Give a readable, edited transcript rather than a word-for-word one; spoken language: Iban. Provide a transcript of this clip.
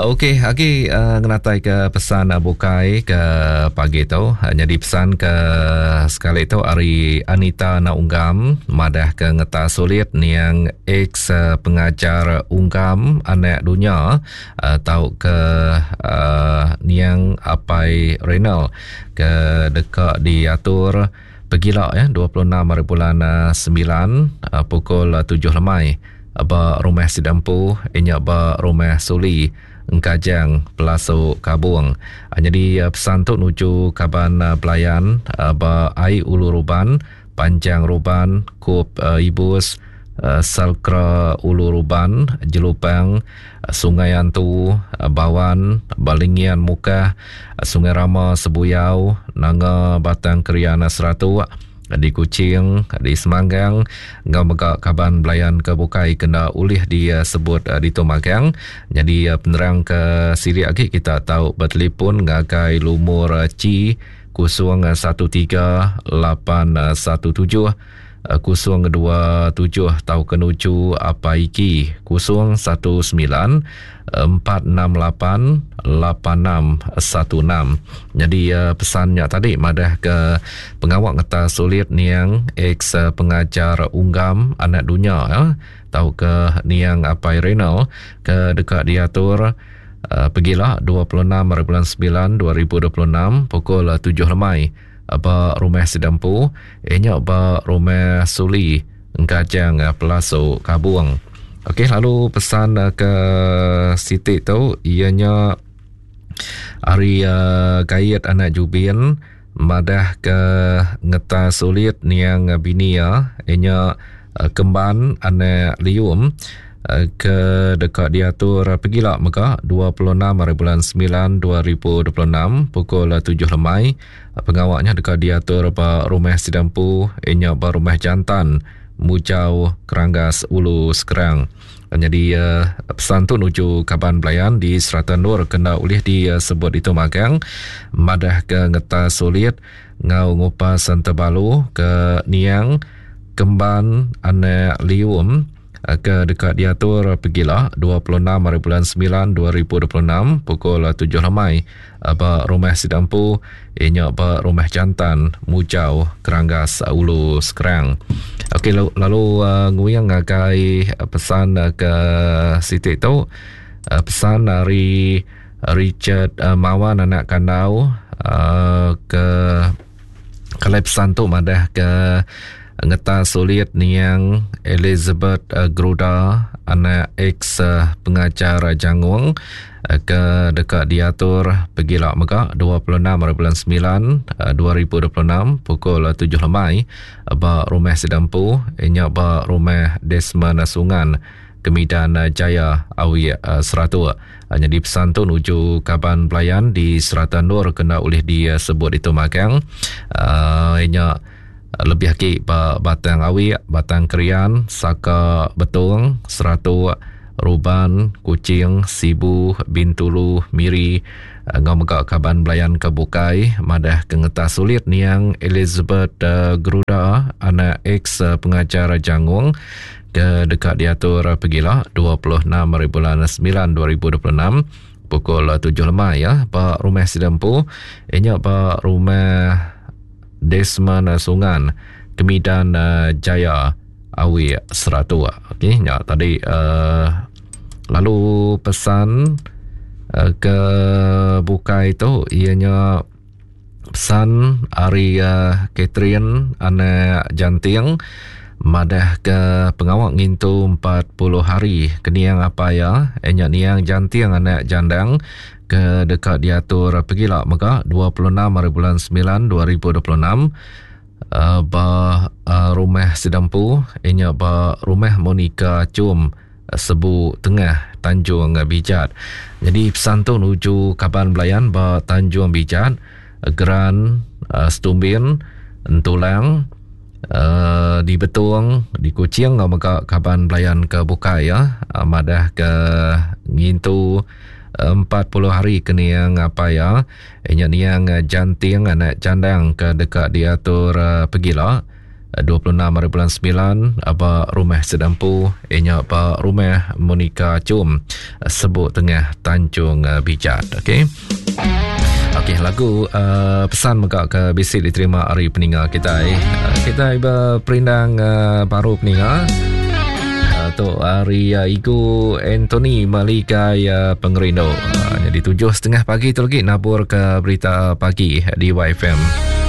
Okey, agi uh, ngenatai ke pesan uh, bukai ke pagi tu. Uh, nyadi pesan ke sekali tu ari Anita Naunggam madah ke ngeta sulit niang ex uh, pengajar Unggam anak dunya uh, tau ke uh, niang Apai Renal ke deka diatur pegila ya 26 hari bulan uh, 9 uh, pukul 7 lemai ba rumah sida empu inya ba rumah Suli Engkajang Pelasu Kabung. Nyadi pesan tu nuju kaban belayan ba ai Ulu Ruban, Panjang Ruban, Kup Ibus, Salkra Ulu Ruban, Jelupang, Sungai Antu, Bawan, Balingian Mukah, Sungai Rama Sebuyau, Nanga Batang Krian Seratuk, di Kuching, di Semanggang enggau mega kaban belayan ke bukai kena ulih disebut ditu magang. Nyadi penerang ke silik agi kita tau betelefon ngagai lumur C 013 817 027 tauka nuju Apai Iki 019 468 8616. Nyadi pesan nya tadi madah ke pengawa ngetas sulit niang ex pengajar Unggam anak dunya tauka niang Apai Renal ke deka diatur pegila 26 hari bulan 9 2026 pukul 7 lemai ba rumah sida empu iya nya ba rumah Suli Engkajang Pelasu Kabung. Okey lalu pesan ke siti tu iya nya ari uh, Gayet anak Jubin madah ke ngetas ulit niang bini iya iya nya uh, Kemban anak Lium ke deka diatur pegila mega 26 hari bulan 9 2026 pukul 7 lemai. Pengawa nya deka diatur ba Rumah Sida Empu iya nya ba Rumah Jantan, Mujau, Keranggas, Ulu Skrang. Nyadi pesan tu nuju kaban belayan di serata endur ke enda ulih disebut ditu magang madahka ngetas sulit enggau ngupas entebalu ke niang Kemban anak Lium ke deka diatur pegila 26 hari bulan 9 2026 pukul 7 lemai ba rumah sida empu iya nya ba Rumah Jantan Mujau Keranggas Ulu Skrang. Okey lalu uh, nguyang ngagai pesan ke siti tu uh, pesan ari Richard uh, Mawan anak Kandau uh, ke Kalai pesan tu madah ke ngetas sulit niang Elizabeth eh, Gruda anak ex eh, pengajar Jangung eh, ke deka diatur pegila mega 26 hari bulan 9 2026 pukul 7 lemai ba rumah sida empu nya ba rumah Desmond Sungan Kemidan Jaya Awi Seratuk. Nyadi pesan tu nuju kaban belayan di serata endur kena ulih disebut ditu magang. Uh, nya lebih agi ba Batang Awik, Batang Krian, Saka Betong, Seratuk, Ruban, Kuching, Sibu, Bintulu, Miri enggau mega kaban belayan ke bukai madah ke ngetas sulit niang Elizabeth Gruda anak ex pengajar Jangung ke deka diatur pegila 26 hari bulan 9 2026 pukul 7 lemai ya ba rumah sida empu inya ba rumah Desmond Sungan Kemidan eh, Jaya Awi Seratuk. Okey nya tadi uh, lalu pesan uh, ke bukai tu ianya Pesan ari Catherine anak Janting madah ke pengawa ngintu 40 hari ke niang apai iya iya nya niang Janting anak Jandang ke deka diatur pegila mega 26 hari bulan 9 2026 ba rumah sida empu iya nya ba rumah Monica Chum Sebu Tengah, Tanjung Bijat. Nyadi pesan tu nuju kaban belayan ba Tanjung Bijat, Geran, Setumbin, Entulang, di Betong, di Kuching enggau mega kaban belayan ke bukai ya madah ke ngintu 40 hari ke niang apai iya nya niang Janting anak Chandang ke deka diatur pegila. 26 hari bulan 9 ba rumah sida empu inya ba rumah Monica Chum Sebuk Tengah Tanjung Bijat. Okey. Okey, lagu uh, pesan mega ke bisi diterima ari peninga kitai. Uh, kitai berperindang uh, baru peninga. Uh, tu ari uh, Igu Anthony Maligai uh, Pengerindu. Uh, jadi 7.30 pagi tu lagi nabur ke berita pagi di YFM.